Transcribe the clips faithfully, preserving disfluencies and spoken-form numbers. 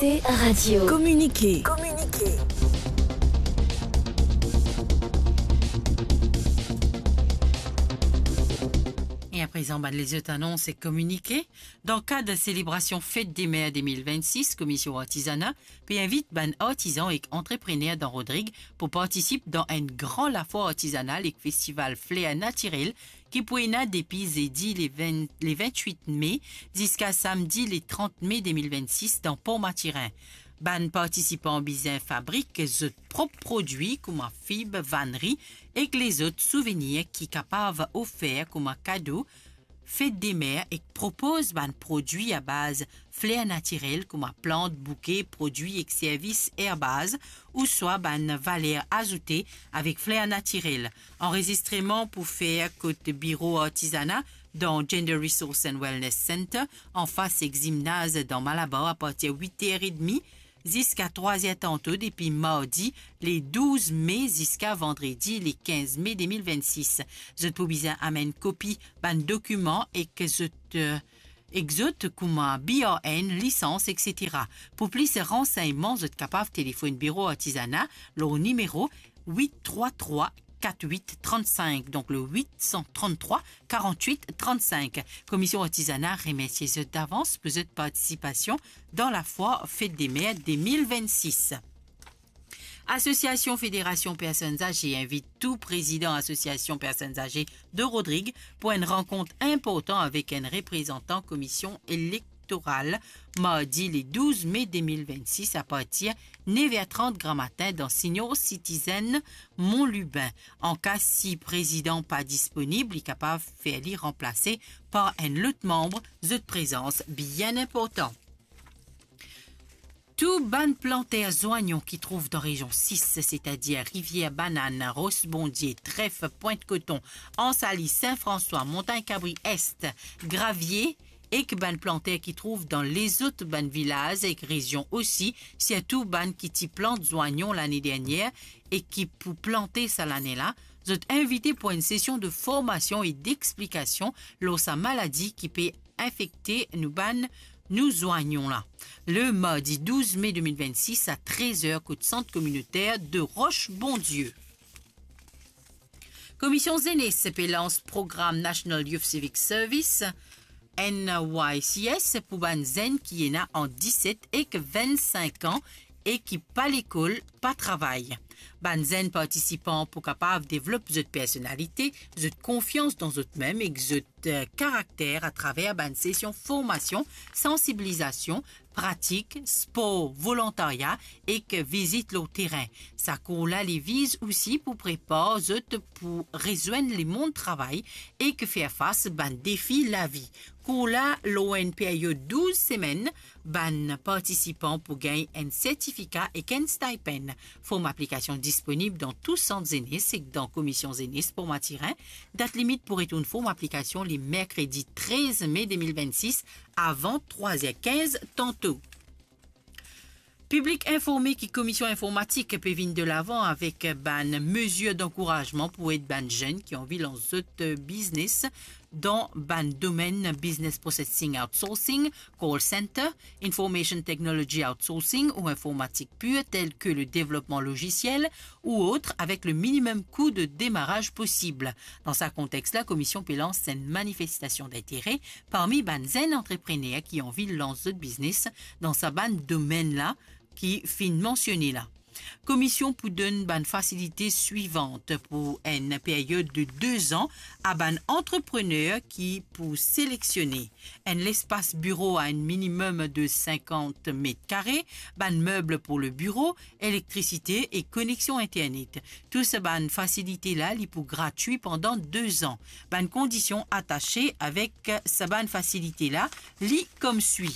T Radio. Kominike. Kominike. E aprezan, bann lezot anons ek kominike. Dan kad selebrasion Fet de Mer de mil vennsis, Komisyon Artizana pe invit bann artizan ek antreprener dan Rodrig pou partisip dan enn gran lafwar artizanal ek festival fler natirel ki pou ena depi zedi le ven, le vintwit me ziska samdi le trant me de mil vennsis dan Por Matirin. Bann partisipan bizin fabrik zot prop prodwi kouma fib, vanri ek lezot souvenir ki kapav ofer kouma kado Fet de Mer ek propoz bann prodwi a baz fler natirel kouma plant, bouke, prodwi ek servis erbaz ouswa bann valer azoute avek fler natirel. Anrezistreman pou fer kot biro artizana dan Gender Resource and Wellness Center, anfas ek zimnaz dan Malabar, apartir wit er edmi ziska trwa er tanto, depi mardi le douz me ziska vandredi le kinz me de mil vennsis. Zot pou bizin amenn kopi bann dokiman ek zot, eh, ek zot kouma B R N, lisans, et cetera. Pou plis ransegnman, zot kapav telefonn biro artizana lor nimero wit trwa trwa kat wit trannsink, donk le wit san tranntrwa karant-wit trannsink. Komisyon Artizana remersie zot davans pou zot partisipasion dan lafwar Fet de Mer de mil vennsis. Asosiasion Federasion Personn Aze invit tou prezidan Asosiasion Personn Aze de Rodrig pou enn rankont inportan avek enn reprezantan Komisyon Elektoral, mardi le douz me de mil vennsis, apartir nev er trant gramatin dan Senior Citizen Mont Lubin. Anka si prezidan pa disponib, li kapav fer li ranplase par enn lot manm, zot prezans bien inportan. Tou bann planter zwanyon ki trouv dan rezion sis, setadir Rivier Banann, Ros Bondie, Tref, Pwint Koton, Ansali, Sin Franswa, Montagn Kabri Est, Gravie, ek bann planter ki trouv dan lezot bann vilaz ek rezion osi, sirtou bann ki ti plant zwanyon lane dernier e ki pou plante sa lane la, zot invite pou enn sesion de formasion e dexplikasion lor sa maladi ki pe infekte nou bann, nou zwanyon la. Le mardi douz me de mil vennsis a trez er kot Sant Kominoter de Roche Bondieu. Komisyon Zenes pe lans program National Youth Civic Service, N Y C S, pou bann zenn ki ena ant diset ek vinn-sink an e ki pa lekol, pa travay. Bann zenn partisipan pou kapav devlop zot personalite, zot konfians dan zot mem ek zot, eh, karakter atraver bann sesion formasion, sansibilizasion, pratik, spor, volontarya ek vizit lor terin. Sa kour la li viz osi pou prepar zot pou rezwenn lemond travay ek fer fas bann defi lavi. Kour la lor enn period douz semenn, bann partisipan pou gagn enn sertifika ek enn stipend. Form aplikasion disponib dan tou sant zenes ek dan Komisyon Zenes Por Matirin. Dat limit pou retourn form aplikasion li merkredi trez me de mil vennsis avan trwa er kinz tanto. Piblik informe ki Komisyon Informatik pe vinn delavan avek bann mezir dankourazman pou ed bann zenn ki anvi lans zot biznes dan bann domenn business processing outsourcing, call center, information technology outsourcing ou informatik pir, tel ke le devlopman lozisiel ou ot, avek le minimem kou de demaraz posib. Dan sa kontex la, Komisyon pe lans enn manifestasion dintere parmi bann zenn antreprener ki anvi lans zot biznes dan sa bann domenn la ki finn mansione la. Komisyon pou donn bann fasilite swivan pou enn period de de zan a bann antreprener ki pou seleksionnen enn lespas biro a enn minimem de sinkant met kare, bann meb pou le biro, elektrisite e koneksion internet. Tou sa bann fasilite la, li pou gratwi pandan de zan. Bann kondision atase avek sa bann fasilite la, li kom swi.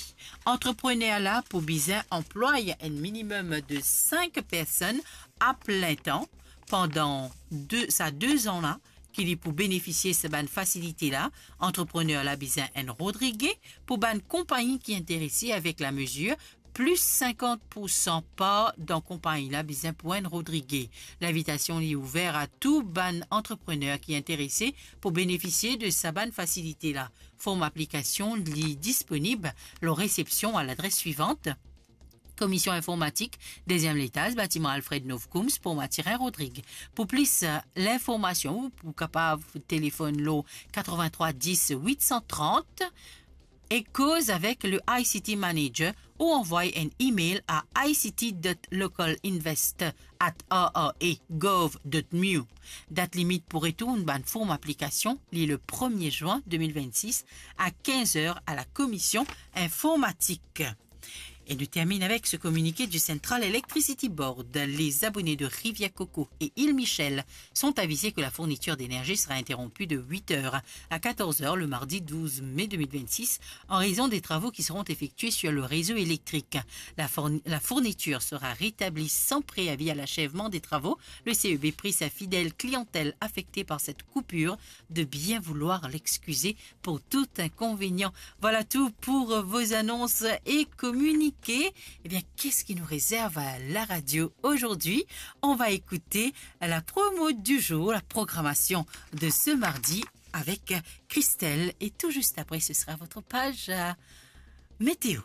Antreprener la pou bizin anplway enn minimem de sink personn a plin tan pandan de, sa de zan la ki li pou benefisie sa bann fasilite la. Antreprener la bizin enn Rodrige. Pou bann konpagni ki interese avek lamezir, plis sinkant pou san par dan konpagni la bizin pou enn Rodrige. Linvitasion li ouver a tou bann antreprener ki interese pou benefisie de sa bann fasilite la. Form aplikasion li disponib lor resepsion a ladres swivan: Komision Informatik, deziem letaz, batiman Alfred Novkoum, Pont Mathurin, Rodrig. Pou plis, eh, linformasion, ou pou kapav telefonn lor katrevin-trwa dis wit san trant e koz avek le I C T Manager ou anvway enn email a I C T dot local invest at R R A gov dot M U. Dat limit pou retourn bann form aplikasion, li le premie zwin de mil vennsis a kinz er a la Komision Informatik. E nou termine avec ce communiqué du Central Electricity Board. Les abonnés de Rivière-Coco et Île Michel sont avisés que la fourniture d'énergie sera interrompue de huit heures à quatorze heures le mardi douze mai deux mille vingt-six en raison des travaux qui seront effectués sur le réseau électrique. La fourni-, la fourniture sera rétablie sans préavis à l'achèvement des travaux. Le C E B prie sa fidèle clientèle affectée par cette coupure de bien vouloir l'excuser pour tout inconvénient. Voilà tout pour vos annonces et communiqués. Eh bien, qu'est-ce qui nous réserve à la radio aujourd'hui ? On va écouter la promo du jour, la programmation de ce mardi avec Christelle. Et tout juste après, ce sera votre page, euh, météo.